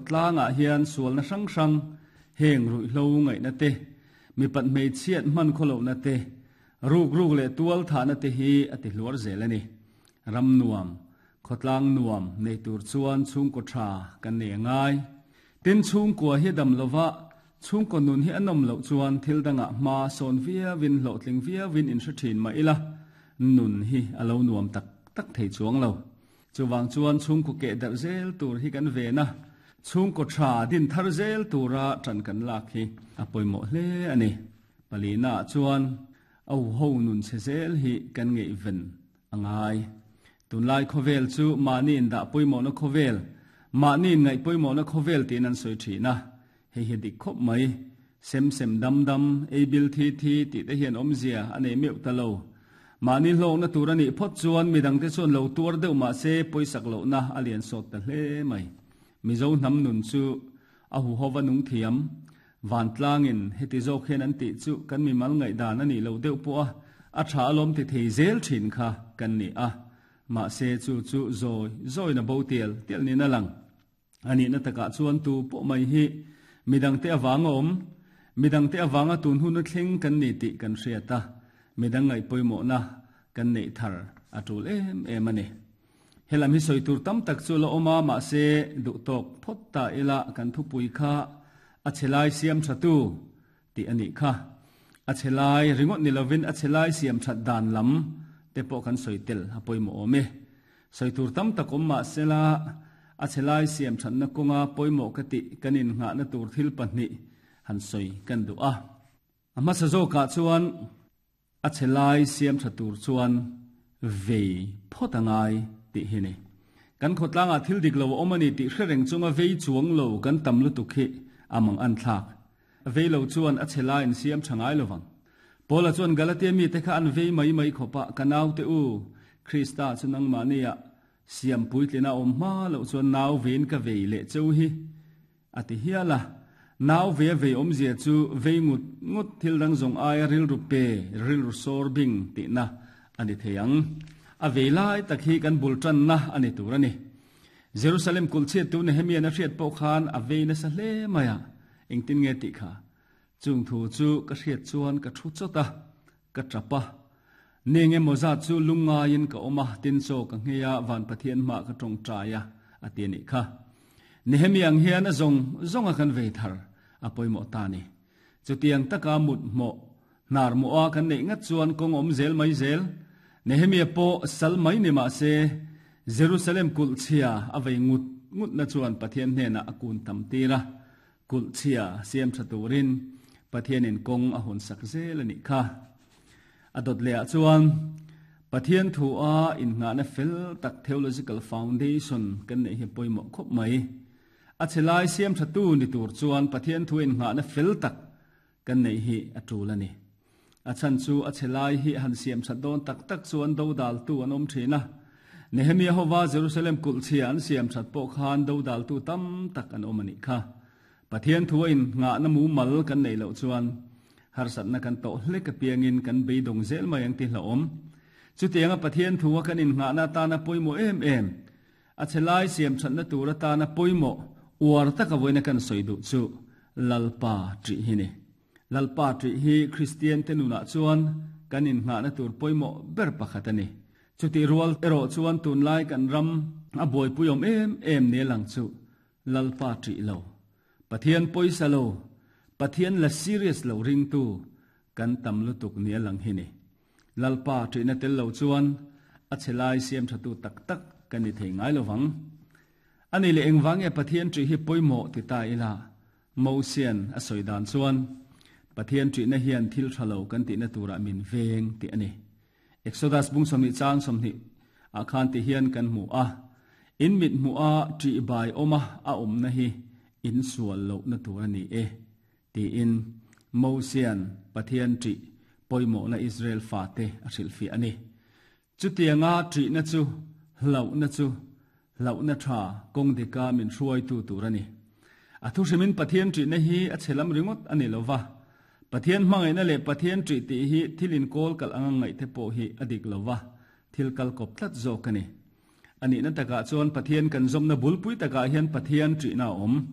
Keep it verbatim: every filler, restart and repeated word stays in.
Khawtlangah hian sualna hrang hrang heng ruihhlo ngaihna te, mipat hmeichhiat hman khawlohna te, ruk ruk leh tual thahna te hi a ti hluar zel a ni. Ram nuam, khawtlang nuam nei tur chuan chhungkaw tha kan nei angai. Tin chhungkua hi dam lova, chhungkaw nun hi a nawm loh chuan thil dangah hma sawn viauin hlawhtling viauin in hre thin mah ila, nun hi a lo nuam tak tak thei chuang lo. Chuvang chuan chhungkaw keh darh zel tur hi kan ven a, chhungkaw tha din thar zel tura tan kan lak hi a pawimawh hle a ni. Palina chuan au ho nun che zel hi kan ngaihven a ngai. Tunlai khawvel chu mahni in dah pawimawhna khawvel, mahni in ngaih pawimawhna khawvel tiin an sawi thin a. Hei hi dik khawp mai. Sem sem dam dam, ei bil thi thi tih te hian awmzia a nei meuh ta lo. Mahni hlawkna tur a nih phawt chuan midangte chuan lo tuar deuh mah se pawisak lohna a lian sawt ta hle mai. Mizo hnam nun chu a huhova nung thiam. Vantlangin heti zawk hian an tih chu kan mimal ngaihdan a nih loh deuh pawh a, a tha alawm ti thei zel thin kha kan ni a. Mahse chu chu zawi zawina bo tial tial niin a lang. A nihna takah chuan tu pawh mai hi midangte avanga awm, midangte avanga tun hun a thleng kan ni tih kan hriat a, midang ngaih pawimawhna kan neih thar a tul em em a ni. Helam hi sawi tur tam tak chu la awm a, mahse duh tawk phawt ta ila kan thupui kha a chhelai siam thatu tih a nih kha. A chhelai ringawt ni lovin a chhelai siam that dan lam te pawh kan sawi tel a pawimawh awm e. Sawi tur tam tak awm mahse la a chhelai siam thatna kawnga pawimawh ka tih kan innghahna tur thil pahnih han sawi kan duh a. A hmasa zawkah chuan a chhelai siam tha tur chuan vei phawt a ngai tih hi ni. Kan khawtlangah thil dik lo a awm a ni tih hre reng chunga vei chuang lo kan tam lutuk hi a mang an thlak. Vei lo chuan a chhelai in siam tha ngai lovang. Paula chuan Galatia mi te kha an vei mai mai khawpa ka nau te u, Krista chu nangmah nia siam puitlina awm hma loh chuan nau vein ka vei leh cheu hi a ti hial a. Nau ve vei awmzia chu vei ngut ngut thil dang zawng aia rilru pe, rilru sawr bing tihna a ni thei ang. A vei lai tak hi kan bul tanna a ni tur a ni. Jerusalem kulhchhiat tu Nehemia a hriat pawh khan a vei nasa hle mai a, engtin nge tih kha. Chung thu chu ka hriat chuan ka thu chawt a, ka tap a. Nenge maw zat chu lungngaiin ka awm a, tin chaw ka nghei a, van Pathian hma ka tawngtai a, a ti a nih kha. Nehemia ang hian a zawng zawng a kan vei thar a pawimawh ta ni. Chutiang taka mut hmawh hnar mawh a kan neih ngat chuan kawng awm zel mai zel. Nehemia pawh sal mai ni mah se Jerusalem kulhchhia a vei ngut ngut na chuan Pathian hnenah a kun tam tir a. Kulhchhia siam tha turin Pathianin kawng a hawn sak zel a nih kha. A dawt lehah chuan Pathian thu a innghahna fel tak theological foundation kan neih hi pawimawh khawp mai. A chhelai siam tha tu ni tur chuan Pathian thu innghahna fel tak kan neih hi a tul a ni. A chhan chu a chhelai hi han siam that dawn tak tak chuan do dal tu an awm thin a. Nehemia hova Jerusalem kulhchhia an siam that pawh khan do dal tu tam tak an awm a nih kha. Pathian thu a innghahna mumal kan neih loh chuan harsatna kan tawh hlek apiangin kan beidawng zel mai ang ti hlauhawm. Chutianga Pathian thu a kan innghahna atana pawimawh em em, a chhelai siam thatna tur atana pawimawh uar taka vawiina kan sawi duh chu Lalpa ṭih hi ni. Lalpa ṭih hi Kristian te nunah chuan kan innghahna tur pawimawh ber pakhat a ni. Chutih rual erawh chuan tunlai kan ram a buaipui awm em em ni lang chu Lalpa ṭih lo, Pathian pawisa lo, Pathian la serious lo ringtu kan tam lutuk ni a lang hi ni. Lalpa ṭihna tel lo chuan a chhelai siam thatu tak tak kan ni thei ngai lovang. Ani leh engvang nge Pathian ṭih hi pawimawh ti ta ila, Mosian a sawi dan chuan Pathian ṭihna hian thil tha lo kan tihna turah min veng tih a ni. Exodus bung sawmhnih chang sawmhnih ah khan ti hian kan hmu a, in mit hmuh a ṭih bai awm a a awmna hi in sual lohna tur a ni e tiin Mosian Pathian ṭih pawimawhna Israel fate a hrilhfiah a ni. Chutianga ṭihna chu hlauhna chu hlauhna tha kawng dika min hruaitu tur a ni. A thu hrimin Pathian ṭihna hi a chhelam ringawt a ni lova. Pathian hmangaihna leh Pathian ṭih tih hi thil inkawl kalh anga ngaih te pawh hi a dik lova, thil kal kawp tlat zawk a ni. A nihna takah chuan Pathian kan zawmna bulpui takah hian Pathian ṭihna a awm.